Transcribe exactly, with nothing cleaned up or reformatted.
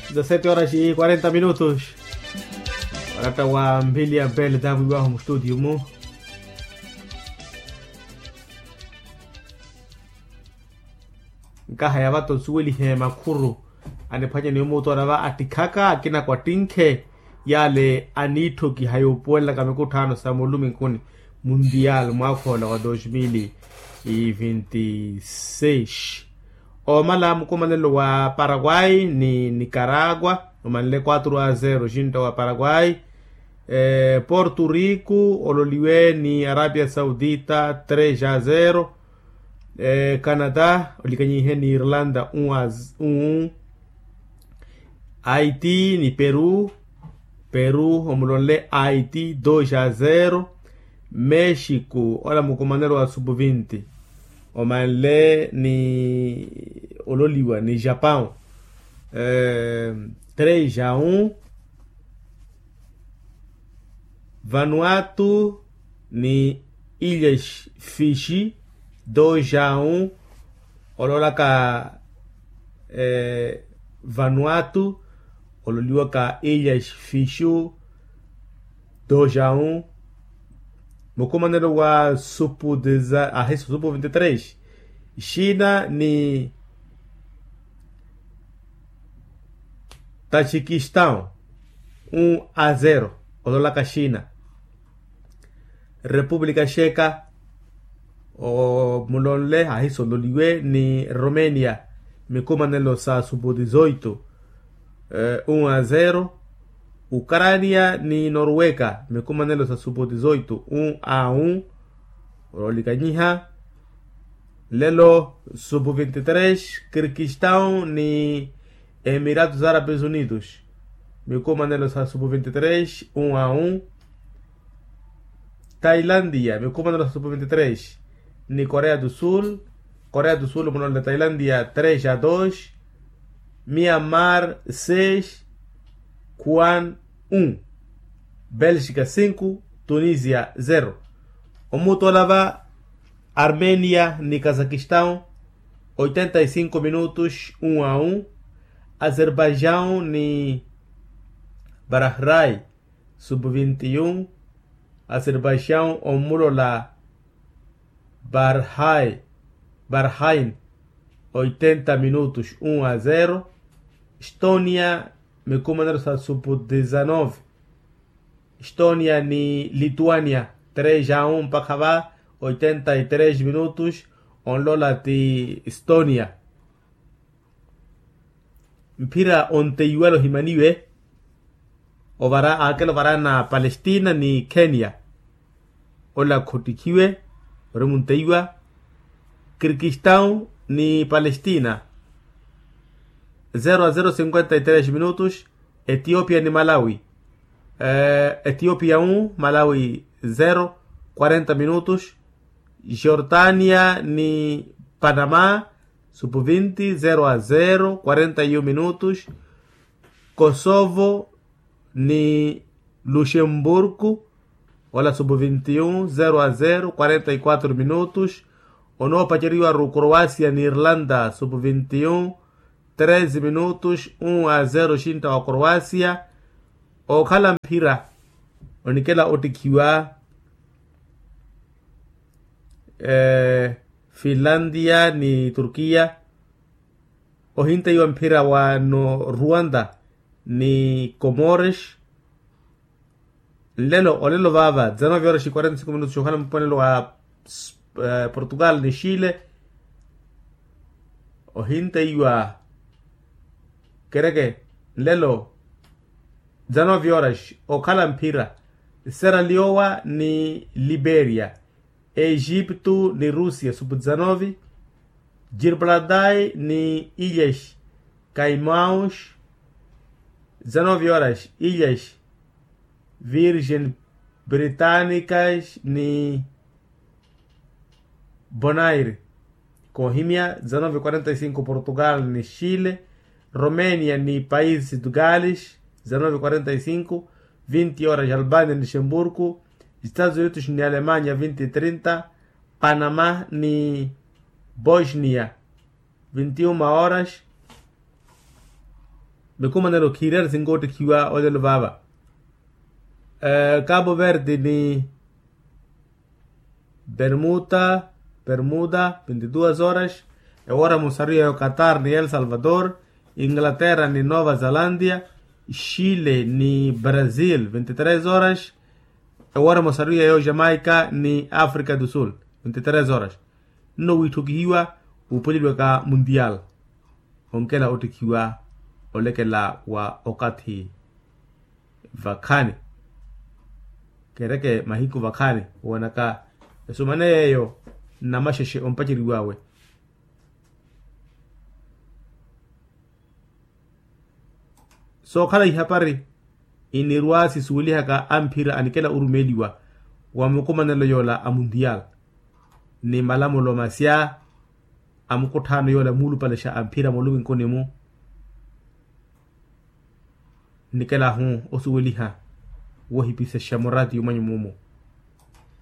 Dezasete horas e quarenta minutos. Oratta wa mphili ya bele taamwiwahu mustutio mu. Nkaha ya vato nsuwelihe makhuru aniphwanyani omuutoora va attikhaka akina kwattinkhe. Yale aniitthokiha yoopuwelelaka mikutthaano sa muluminkuni, mundial mwaakhola wa dos mil e vinte seis. Omala mukumanelo wa paraguay ni nicaragua omanle quatro a zero xintta wa paraguay. Porto rico ololiwe ni arabia saudita tres a zero. Canada olikanyihe ni irlanda un a un. Haiti ni peru. Peru omulonle haiti dos a zero. Mexico ola mukumanelo wa supu vinti omanle ni ololiwa ni japão tres a un. Vanuatu ni ilhas fixi dos a un. Ololaka vanuatu ololiwaka ilhas fixu dos a un. Mukumanelo wa supu deza ahiso supu vinti tres. Xina ni tajikistaw un a zero. Ololaka xina. Repúblika xeka omulonle ahiso ololiwe ni romenia mikumanelo sa supu dizoito un a zero. Ukarania ni norweka mikumanelo sa supu dizoito un a un. Ololikanyiha lelo supu vinti tres kirkistaw ni emiratos arabes unidos mikumanelo sa supu vinti tres un a un. Tailandia mikumanelo sa supu vinti tres ni korea do sul. Korea do sul mulonle tailandia tres a dos. Mianmar seis. Kuan un. Belxika sinku. Tunisia zero. Omutola va armenia ni kazakistan oitenta e sinku minutos un a un. Azerbaijau ni barahrai supu vinti un. Azerbaijau omulola barhai barhain oitenta minutos un a zero. Estonia mikumanelo sa supu dizanove. Estonia ni lituania tres a un mpakha va oitenta e tres minutos. Onlola ti estonia. Mphira onteiwale ohimaniwe ovara aakela ovara na palestina ni kenya. Ola khottikhiwe ori munteiwa kirkistaw ni palestina. Zero a zero cinquenta e tres minutos. Etiopia ni malawi. Etiopia un malawi zero. Quarenta minutos. Jordania ni panama supu vinti zero a zero quarenta e um minutos. Kosovo ni luxemburgo ola supu vinti un zero a zero quarenta e quatro minutos. Onoopaceriwa ru croacia ni irlanda supu vinti un treze minutos un a zero xintta wa croacia. Okhala mphira onikela ottikhiwa finlandia ni turkiya. Ohinteiwa mphira wa no rwanda ni comores. Nlelo olelo vaava dizanove horas e quarenta e cinco minutos okhala mponelo wa portugal ni chile. Ohinteiwa kereke nlelo dizanove horas okhala mphira. Sera leoa ni liberia. Egipto ni rusia supu dizanove. Girbladai ni ilhas kaimaus dizanove horas. Ilhas virgen britanicas ni bonaire. Koohimya dizanove quarenta e cinco portugal ni chile. Romenia ni países de gales dizanove quarenta e cinco. Vinti horas albania ni luxemburgo. Estados unidos ni alemania vinti trinta. Panama ni bosnia vinti uma horas. Mikumanelo khiirari sinkoottikhiwa olelo vaava. Cabo verde ni bermuda bermuda vinte duas horas. Ewoora musaru yayo qatar ni el salvador, inglaterra ni nova zelandia, chile ni brazil vinte tres horas. Ewoora musaru yayo jamaica ni africa du sul vinte tres horas. Nno wiitthukihiwa wuupweleliwaka mundial. Onkela ottikhiwa olekela wa okathi vakhaani. Kereke mahiku vakhaani owanaka esumane yeeyo nnamaxexe ompaceriw'awe. Sookhala ihapari inirwa sisuwelihaka amphira anikela orumeeliwa wa mukumanelo yoola a mundial ni malamulo masya a mukutthaano yoola muulupalexa amphira muluminkuni-mu. Nnikela-hu osuweliha wohipisexa muraatiyo mwanyu muumu.